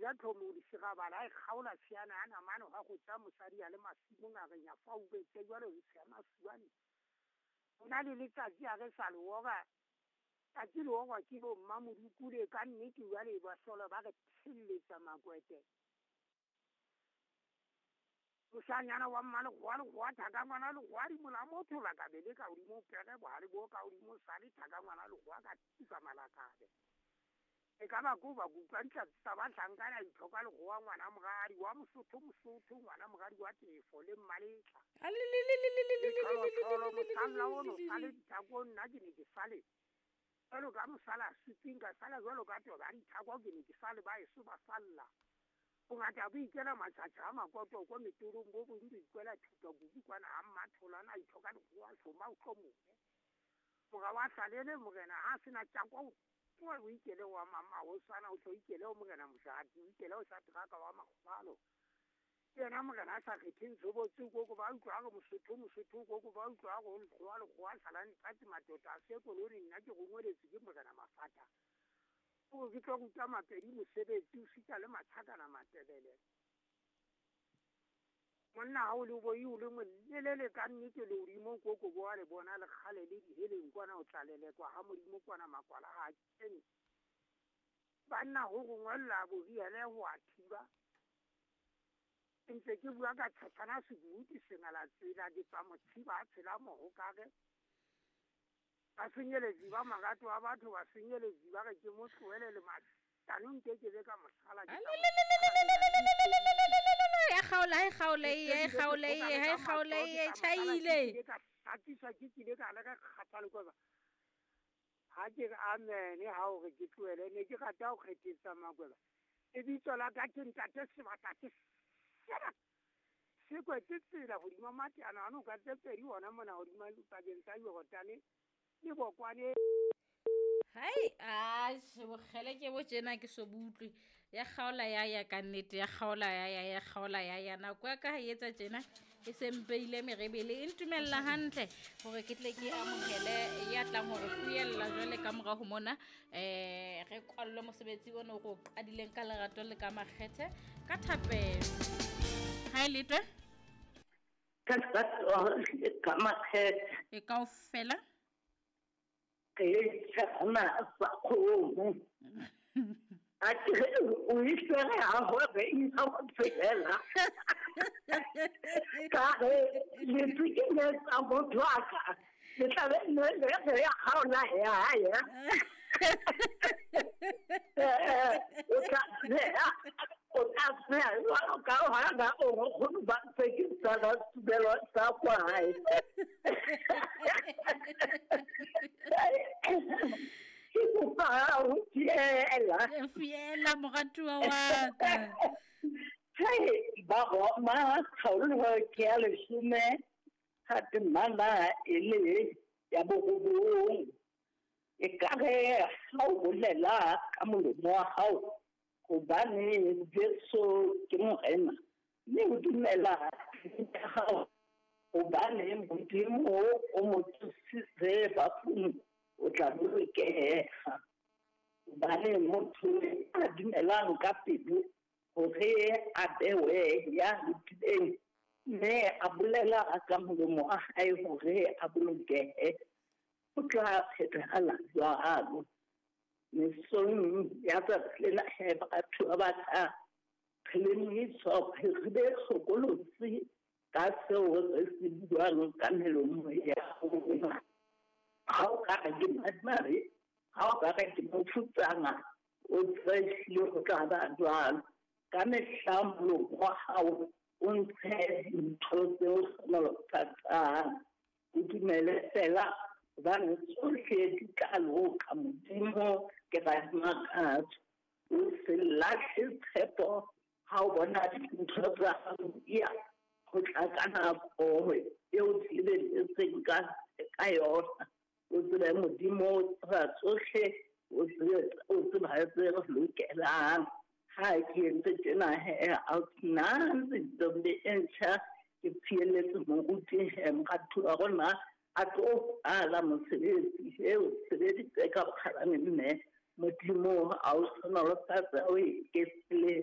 ja tlhomo disegabala a e kgaola tshiana ya namane gwa go tsa mosadi a le masimong a re nyafa o betse jalo re tshiama suane. Go na le letsatsi a re sa le oba tsatsi le ogwa ke bo mmamodukule ka nnete jale ba sola ba re tsheletsa makwete. Moshanyana wa mmalekgowa lekgowa thaka ngwana lekgowa dimola motho la ka be le ka godimo pere bohale bo ka godimo sale thaka ngwana lekgowa ka tuka malakabe. E ka ba ko ba kutlwa ditlatsi tsa bahlankana itlhoka lekgowa ngwana moradi wa Mosotho Mosotho ngwana moradi wa Tefo le Mmaletla. Letholotolo mosalla ono sale dithako nna ke ne ke sale jalo ka mosala suping ka sala jalo ka toba dithako ke ne ke sale ba eso ba salla. Bongata bo ikela matjhatjha a makoto ko metorong bo bong bo ikwela thupa kuku kwana ha mmatholana a ithoka lekgowa hloma o tlo mone. Mora wa hlalele morena ha sena tjako o ikele wa mama o sana o tlo ikele o morena mojadi o ikele o sa traka wa makgobalo. Ke yena morena a sa kgetheng tshobotsi koko ba utlwa re Mosotho Mosotho koko ba utlwa go lekgowa lekgowa salane patsi matota a se koloni nna ke rongweletse ke morena Mafata. O ke tlo ruta Mapedi mosebetsi o sita le Matshakana Matebele. Monna ha o le boi o le molelele ka nnete le hodimo koko bo a le bona le kgale le diheleng kwana o tlalelekwa ha Modimo kwana makwala ha kene. Banna ho rongwella boriele ho a thiba. Ntse ke bua ka tshana sebuti sengala tsela ke tsa mothiba a tshela mohokare. Ba senyeletsi ba marato a batho ba senyeletsi ba re ke mo tlohele le matano nke ke be ka mosala ke ya kgaola e kgaola e kgaola e kgaola e tjhaile ka tsatisa ke kile ka le ka kgathala kwa ha ke re amen ha o re ke tlohele ne ke rata ho kgethetsa makweba e bitso la ka ke ntate Sebata ke se kwetse tsela hodima mateana ano ka tse pedi ona mona hodima pakeng tsa Jordan le bokwane. Hai a bokgele ke bo tjena ke so butlwe ya kgaola ya ya ka nnete ya kgaola ya ya ya kgaola ya ya nako ya ka ha etsa tjena e sempeile merebele e ntumella hantle hore ke tle ke amohele ya tlang hore fuyella jwale ka mora ho mona re kwallwe mosebetsi ono go qadileng ka lerato le ka makgethe ka thapelo. Ha e letwe ka lerato le ka makgethe e kaofela ke tsana sa kgomo a ke o isere ha ho be ina ho tsela ka re le tsike tsa motho a ka le tla be le re ya haola ya ya o tla o tla tsela ka ha ga o go ba tse ke tsa tubelo tsa kwa hae. Ke kopa ho fiela fiela moratuwa wa ka. Hey, ba Roma kgaolo ke ya leshome ha temana e le ya borobong. E ka re ha o bolela ka molomo wa hao hobane Jesu ke Morena, mme o dumela hao hobane Modimo o mo tsositse bafung, o tla bolokeha. Hobane motho a dumelang ka pelo hore a bewe ya lokileng, mme a bolela ka molomo wa hae hore a bolokehe, o tla phethahala jwalo. Mesong ya tsatsi lena he batho ba batla re lemohiswa re be hlokolosi ka seo re se buang ka melomo ya rona. Ha o ka re ke madimabe, ha o ka re ke mofutsana, o tsebe ehlile ho tla ba jwalo. Ka mehla molomo wa hao o ntshe dintho tseo hlohonolofatsang. O dumele fela hobane tsohle di tla loka. Modimo ke radimakatso. O se lahle tshepo ha o bona dintho tsa hao di ya ho tla ka nako eo di lebelletseng ka yona. O tsebe Modimo o tseba tsohle, o tseba tse re lokelang. Ha ke entse tjena he a ntombi e ntjha ke fieletse moruti he moratuwa wa rona a tlo ala mosebetsi he o sebeditse ka bokgabane mme Modimo a o hlohonolofatse o eketsele.